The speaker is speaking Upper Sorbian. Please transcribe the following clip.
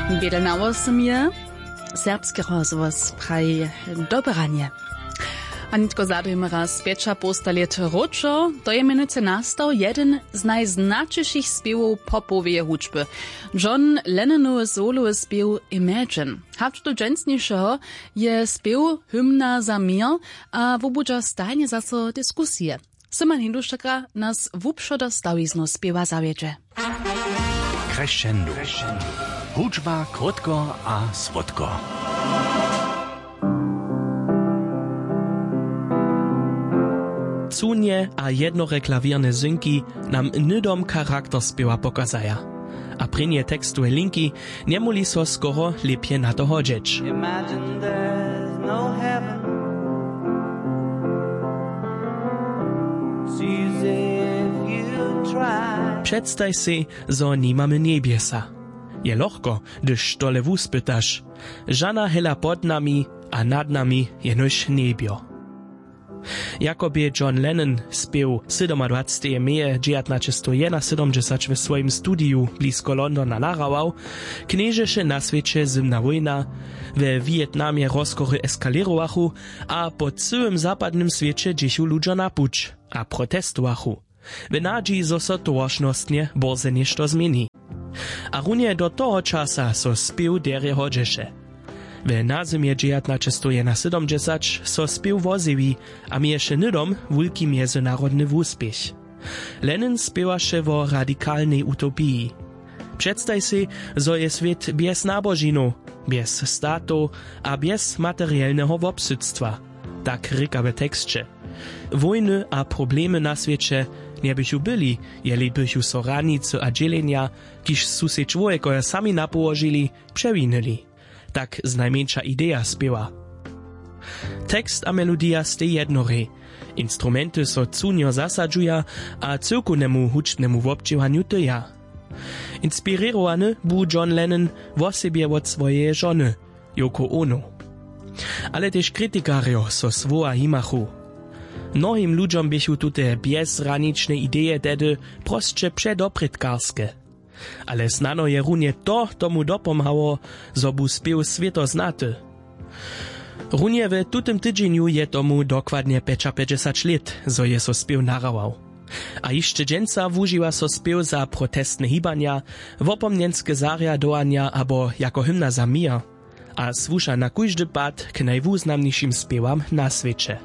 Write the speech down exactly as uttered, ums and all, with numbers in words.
Bědelnało sym je, serbski rozhłos praji doberanje. A nětko zadujmy raz pjećapołsta lět wróćo, to je mjenujcy nastał jedyn z najznaćišich spěwow popoweje hudźby, John Lennonowy solowy spěw Imagine. Hač do dźensnišeho je spěw hymna za měr a wobudźa stajnje zaso diskusije. Syman Hindušaka nas wupšo do stawiznow spěwa zawjedźe. Crescendo. Hudźba krótko a słodko. Cunje a jednore klawěrne zynki nam hnydom charakter spěwa pokazaja. A prěnje tekstowe linki njemóhli so skoro lěpje na to hodźeć. Imagine there's no heaven. It's easy if you try. Předstaj sej, zo nimamy njebjesa. Je lochko, hdyž tole wuspytaš. Žana hela pod nami a nad nami jenož njebjo. Jako bě John Lennon spěw sydomadwaceteje meje dźewjatnaćestow jedynasydomdźesać we swojim studiju blisko Londona nahrawał, knježeše na swěće zymna wójna, we Wětnamje rozkory eskalěrowachu a po cyłym zapadnym swěće dźěchu ludźo na puć a protestowachu. W nadźiji, zo so towaršnostnje bórze něšto změni. A runje do toho časa so spěw derje hodźeše. We nazymje dźewjatnaćestow jedynasydomdźesać so spěw wozjewi a měješe hnydom wulki mjezynarodny wuspěch. Lennon spěwaše wo radikalnej utopiji. Předstaj sej, zo je swět bjez nabožinow, bjez statow a bjez materielneho wobsydstwa, tak rěka w teksće. Wójny a problemy na swěće njebychu byli, jeli bychu so hranicy a dźělenja, kiž su sej čłowjekojo sami napołožili, přewinyli. Tak znajmjeńša ideja spěwa. Tekst a melodija stej jednorej. Instrumenty so cunjo zasadźuja a cyłkownemu hudźbnemu wobdźěłanju tyja. Inspirěrowany bu John Lennon wosebje wot swojeje žony, Yoko Ono. Ale tež kritikarjo so słowa himachu. Mnohim ludźom běchu tute bjezhranične ideje tehdy prosće předoprědkarske. Ale snano je runje to tomu dopomhało, zo bu spěw swěto znaty. Runje w tutym tydźenju je tomu dokładnje pjećapjećdźesać lět, zo je so spěw nahrawał. A hišće dźensa wužiwa so spěw za protestne hibanja, wopomnjenske zarjadowanja abo jako hymna za měr. A słuša na kóždy pad k najwuznamnišim spěwam na swěće.